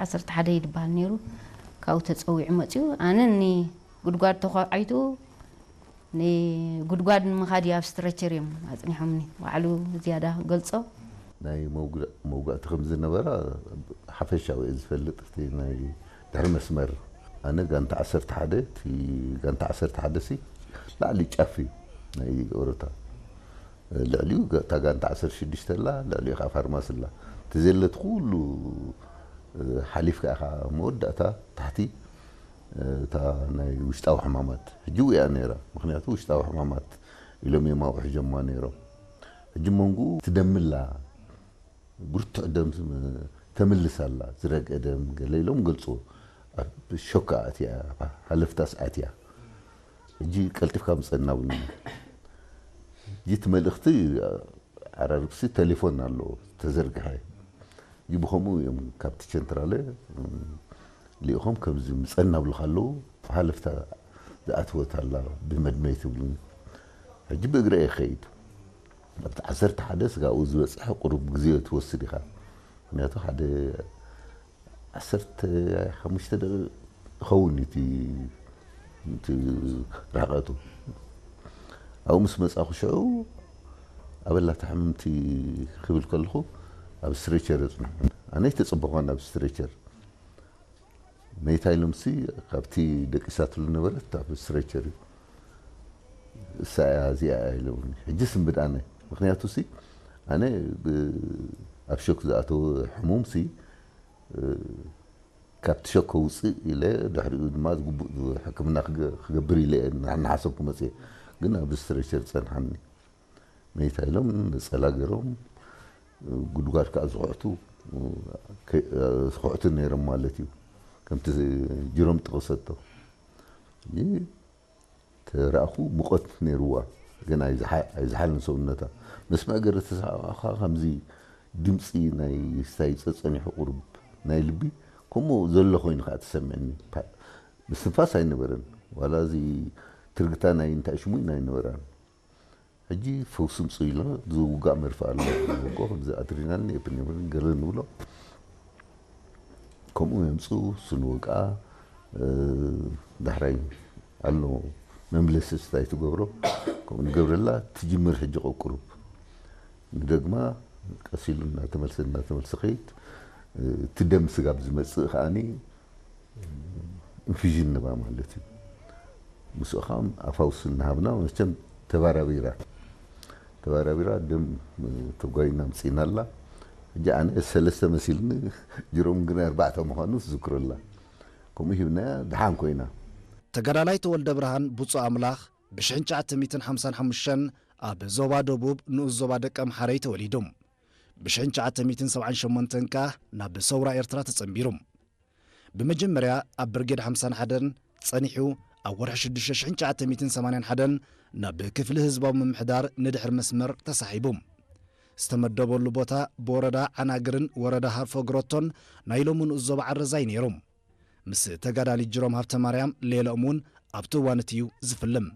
ዓሰርተ ሓደ እዩ ዝበሃል ነይሩ። ካብኡ ተፀዊዑ መፅዩ። ኣነ ንጉድጓድ ተኳዒቱ ንጉድጓድ ንምኻድ እዩ ኣብ ስትረቸር እዮም ኣፅኒሖምኒ። ባዕሉ ዝያዳ ገልጾ። ናይ መውግእ- መውጋእቲ ከም ዝነበራ ሓፈሻዊ እየ ዝፈልጥ። እቲ ናይ ድሕሪ መስመር ኣነ ጋንታ ዓሰርተ ሓደ፣ እቲ ጋንታ ዓሰርተ ሓደ ሲ ላዕሊ ጫፍ እዩ ናይ ኦሮታ። ልዕሊኡ ጋ- እታ ጋንታ ዓሰርተ ሽዱሽተ ኣላ፣ ልዕሊኡ ከዓ ፋርማሲ ኣላ። እቲ ዘለት ኩሉ ሓሊፍካ ኢኻ መወዳእታ ታሕቲ እታ ናይ ውሽጣዊ ሕማማት ሕጂ እያ ነይራ። ምክንያቱ ውሽጣዊ ሕማማት ኢሎም እዮም ኣብኡ ሒዞማ ነይሮም። ሕጂ መንጉ ትደምላ ብርቱዕ ደም ተምልስ ኣላ፣ ዝረግአ ደም ገለ ኢሎም ገልፅዎ። ኣብ ሾካ ኣትያ፣ ሃለፍታስ ኣትያ። ሕጂ ቀልጢፍካ ምፀና ብሉና። ሕጂ እቲ መልእኽቲ ዓራርብሲ ቴሌፎን ኣለዎ ተዘርግሐ። ሕጂ ብኸምኡ እዮም ካብቲ ቸንትራለ እም፣ ልኢኾም ከምዚ ምፀና ብሉኻ ኣለዉ። ሃለፍታ ዝኣትወት ኣላ ብመድመይ ትብሉኒ። ሕጂ ብእግረ እየ ክኸይድ። ኣብቲ ዓሰርተ ሓደ ስጋኡ ዝበፅሐ ቁሩብ ግዜ ትወስድ ኢኻ። ምክንያቱ ሓደ ዓሰርተ ሓሙሽተ ደቂቕ ይኸውን እቲ እቲ ርሕቐቱ። ኣብኡ ምስ መጻኹ ሽዑ ኣበላ እታ ሕምምቲ ክብል ከለኹ ኣብ ስትሬቸር የጽንሑ። ኣነ ኣይተጸበኹን ኣብ ስትሬቸር። መይታ ኢሎምሲ ካብቲ ደቂሳትሉ ነበረት ኣብ ስትሬቸር እዩ። እሳ እያ እዚኣ እያ ኢሎምኒ። ሕጂ ስንብድ ኣነ። ምክንያቱ ሲ ኣነ ብ- ኣብ ሾክ ዝኣተወ ሕሙም ሲ ካብቲ ሸኮ ውፅእ ኢለ ድሕሪኡ ድማ ዝግቡእ ሕክምና ክገ- ክገብር ኢለ እየ እና- እናሓሰብኩ መፅየ። ግን ኣብ ስትሬቸር ፀንሓኒ። መይታ ኢሎም ነፀላ ገይሮም ጉድጓድ ከዓ ዝኹዕቱ ከ- ዝኹዕቱ ነይሮም ማለት እዩ። ከምቲ ጅሮም ጥቕሰቶ ይህ ተራእኹ ሙቐት ነይርዋ። ግን ኣይዝሓ- ኣይዝሓልን ሰውነታ። መስመዕ ገረ ተሰማዕኻ ከምዚ ድምፂ ናይ ስታይ ፀፀኒሑ ቁሩብ ናይ ልቢ ከምኡ ዘሎ ኮይኑ ከዓ ተሰምዕኒ። ፓ- ምስትንፋስ ኣይነበረን። ዋላ እዚ ትርግታ ናይ እንታይ ሽሙን ኣይነበራን። ሕጂ ፈውሲ ምፁ ኢሎ ዝውጋእ መርፍእ ኣሎ። ንወጎ ከምዚ ኣድሪናልን ኤፕኔፍሪን ገለ ንብሎ ከምኡ የምፅኡ። ስንወግኣ ዳሕራይ ኣሎ መምለሲ ስታይ ትገብሮ። ከምኡ ንገብረላ ትጅምር። ሕጂ ቆቁሩብ ንደግማ ቀሲሉ እናተመልሰ እናተመልሰ ከይድ። እቲ ደም ስጋብ ዝመፅእ ከዓኒ ኢንፊዥን ንባ ማለት እዩ። ምስኡ ከዓ ኣፋውስ እናሃብና መቸም ተባራቢራ ተባራቢራ ደም ተጓይና ምፅእና ኣላ። ሕጂ ኣነ ሰለስተ መሲልኒ ጅሮም ግን ኣርባዕተ ምዃኑ ትዝክረላ። ከምኡ ሂብናያ ድሓን ኮይና። ተጋዳላይ ተወልደ ብርሃን ብፁዕ ኣምላኽ ብሽሕን ትሽዓተ ሚእትን ሓምሳን ሓሙሽተን ኣብ ዞባ ደቡብ ንኡስ ዞባ ደቀምሓረይ ተወሊዱ። ብሽሕን ትሽዓተ ሚእትን ሰብዓን ሸሞንተን ከኣ ናብ ሰውራ ኤርትራ ተጸንቢሩ። ብመጀመርያ ኣብ ብርጌድ ሓምሳን ሓደን ጸኒሑ ኣብ ወርሒ ሽዱሽተ ሽሕን ትሽዓተ ሚእትን ሰማንያን ሓደን ናብ ክፍሊ ህዝባዊ ምምሕዳር ንድሕር መስመር ተሳሒቡ። ዝተመደበሉ ቦታ ብወረዳ ዓናግርን ወረዳ ሃርፎ ግሮቶን ናይ ሎሚ ንኡስ ዞባ ዓረዛይ ነይሩ። ምስ ተጋዳሊ ጅሮም ሃብተ ማርያም ሌላኦም እውን ኣብቲ እዋን እቲ እዩ ዝፍልም።